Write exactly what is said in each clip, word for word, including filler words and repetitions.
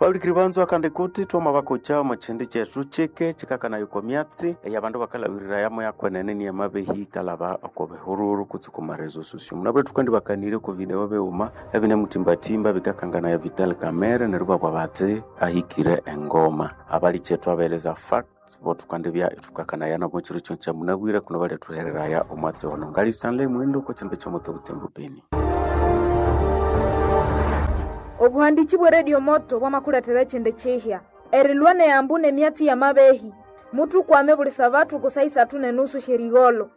Baulikiri banzu akandi kuti twama bakocha omu chindi kyethu chike chikakanayo oko myatsi eyabandu bakalabirira yamo yakwenene niye mabehi kalaba oko bihururu kutse ku marezo sosio. Munabwire thukendi bakanirye oko video bighuma ebinemutimbatimba bikakanganaya Vital Kamerhe neryo ibabugha bathi ahikire engoma. Abalikyethu abaeleza facts bo thukandibya ithukakanaya nabo kyiro kino kyamunabwire kuno balyathuhereraya omwatsi ono. Ngalisanle mwendo oko kyindu kyomuto Butembo Beni. Obuhandiki bwe Radio Moto bwamakulethera ekyindi kyihya erilwa neyambu nemyatsi yamabehi muthukwame buli sabathu ku saa isathu nenusu syerigholho.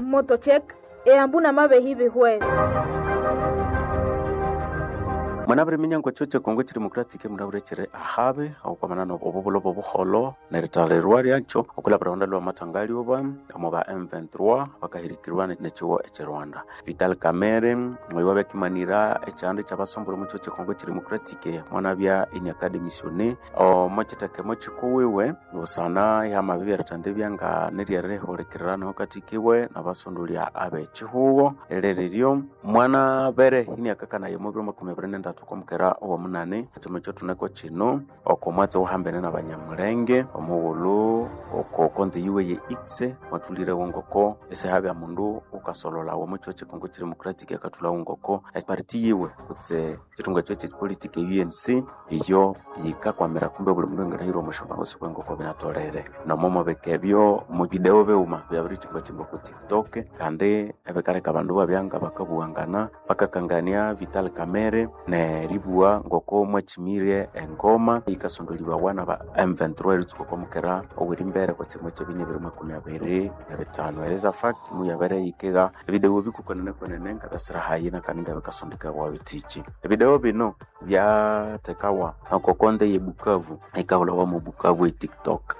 Moto Check eyambu namabehi bihwere. Mwanabire minyango kyo Kongo kiri democratic munabire kiri ahabe okwamana obubulo bobuholo nerithalirwa lyakyo okulabira honda lwa mathangalyoba omu ba M twenty-three bakahirikirwa nekiwo ekye Rwanda. Vital Kamerhe oyo wabyakimanira ekyanda ekyabasombole omu kyo Kongo kiri democratic mwanabya ini academician omo kithekemo kikuwiwe busana ihamabi erithendibya nga neryerihulikirira katikiwe nabasondolya abekihugo eriryo mwanabere ini akakanaye omu biro makumi abiri nendatu okwamukera owomunani ekyuma ekyothuneko kino oko mwatsi owahambene nabanyamulenge omughulhu oko konti yiwe ye X mwathulirewo ngoko isihabya mundu wukasololawa omo kyo kyikongo kyi democratic akathulhawo ngoko eparty yiwe kutse kyithunga ekyo kyepolitic e U N C iyo yikakwamira kumbe obuli mundu anganahirwa omo syombango sikwe ngoko binatholere. Nomo mubika ebyo mu video bighuma byabirikyimbakyimba oko TikTok kandi ebikaleka abandu ibabya nga bakabughangana bakakangania Vital Kamerhe neribugha ngoko mwakyimire engoma yikasondolibawa naba M twenty-three eritsuka okwa mukera owerimbere okwa kyimo kyebinya bibiri makumi abiri nebithanu. Eliza fact muyabere yikigha ebidewo bikukwenene ngabyasira hayi nakandi ngabikasondekawa bithiki. Ebidewo bino byathekawa oko konde ye Bukavu ikahulhawa mu Bukavu e TikTok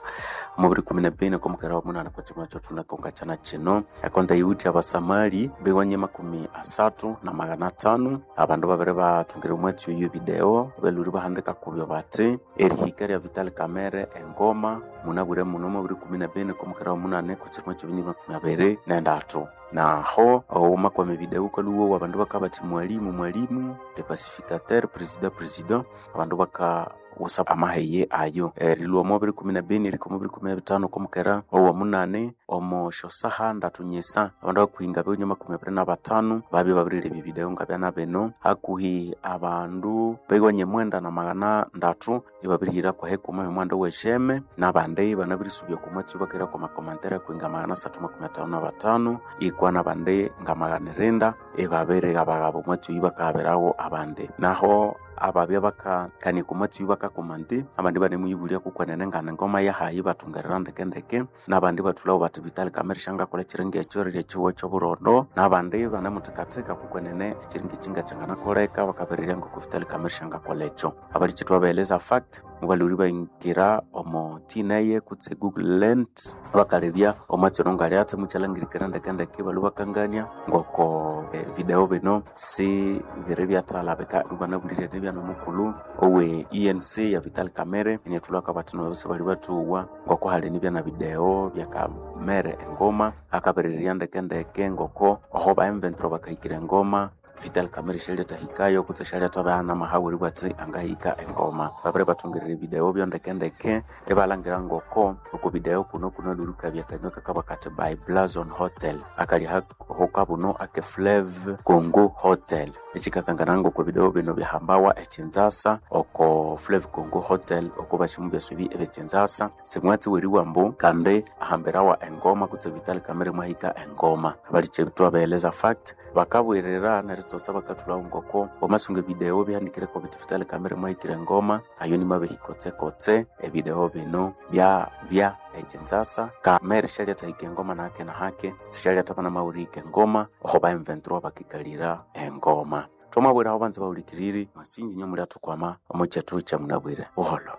omubiri kumi na bini okwa mukera womunani okwa kyimo ekyothunako ngakyana kino. Ekonde yiwithe abasamali biwanye makumi asathu na magana athanu abandu babiri bathungire omwatsi oyo video balhwire bahandika kubyo bathi erihika lya Vital Kamerhe engoma munabwire muno omubiri kumi na bini okwa mukera womunani okwa kyimo kyebinya makumi abiri nendathu. Naho omumakwama evideo wukalhuwowa abandu bakabathi mwalimu mwalimu le pacificateur president president abandu baka wusa amaheye ayo. Erilhwa omo bibiri kumi na bini erihika omo bibiri kumi na bithanu okwa mukera owomunani omo syosaha ndatu nyisa abandu abakuhinga biwunye makumi abiri na bathanu babya babirilebya evideo ngabyana bino hakuhi abandu biwanye mwenda na magana ndatu ibabirihira kwahekuma yomuhanda owesheme nabandi ibanabirisubya okwa mwatsi bakahira kwa makomantere akuhinga magana asathu makumi athanu na bathanu ikwa nabandi nga magana irinda ibabirighaba-ghaba omwatsi oyu bakaghabirawo abandi. Naho ababya bakakania okwa mwatsi oyu bakakomanti abandi ibanemuyibulya kukwenene ngane ngoma yahayi ibathungerera ndekendeke nabandi ibathulhawo bathi Vital Kamerhe syangakolha ekiringa ekyo erirya ekihugo ekyoburondo nabandi ibanemuthikathika kukwenene ekiringa eki ngakyanganakoleka bakabirirya ngoko Vital Kamerhe syangakolha ekyo. Abalikyethu abaeleza fact mubalhwire ibahingira omo T N A kutse Google Lens bakalebya omwatsi ono ngalyathi mukyalhangirikira ndekendeke ibalhwa bakangania ngoko video bino si biri byathalabika ibanabulirye nibya nomukulhu owe E N C ya Vital Kamerhe inyathulha akabathi nabo sibali bathuwa ngoko hali nibya na video bya Kamerhe engoma akabirirya ndekendeke ngoko oho ba M twenty-three bakahikira engoma Vital Kamerhe syalyatahikayo kutse syalyathabya namahawu eribugha athi angahika engoma. Babiri bathungirira evideo byo ndekendeke ibalhangira ngoko oko video kuno kunalhwire akanywa kakabugha kathi by Blazon Hotel akali hokabuno ake Fleuve Congo Hotel ekyikakangana ngoko evideo bino byahambawa ekyinzasa oko Fleuve Congo Hotel oko bashimu byasubi ebyekyinzasa simwatsi weriwa ambu kandi ahambirawa engoma kutse Vital Kamerhe mwahika engoma. Abalikyethu abaeleza fact bakabwirira neritsotsa bakathulhawo ngoko wamasunga evideo bihanikireko bithi Vital Kamerhe mwahikire engoma ayo nimabehi kotsekotse evideo bino byabya ekyinzasa Kamerhe syalyatahika engoma nahake nahake sisyalyathabana namawurihika engoma oho ba M twenty-three bakikalira engoma. Thwamabwira aho banza bahulikiriri mwasinji inyo mulyathukwama omo kyethu kyamunabwire buholho.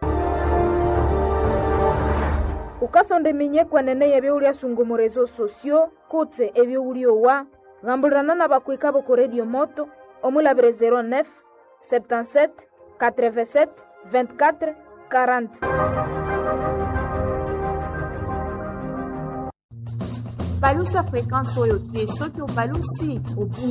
Ukasonda eminye kwenene yebyowulyasunga omo reseaux sociaux kutse ebyowulyowa Gambulirana n'abakwika b'oku Radio Moto omulabire zero neuf septante-sept quatre-vingt-sept vingt-quatre quarante. Balusa fréquence oyo te soki obalusi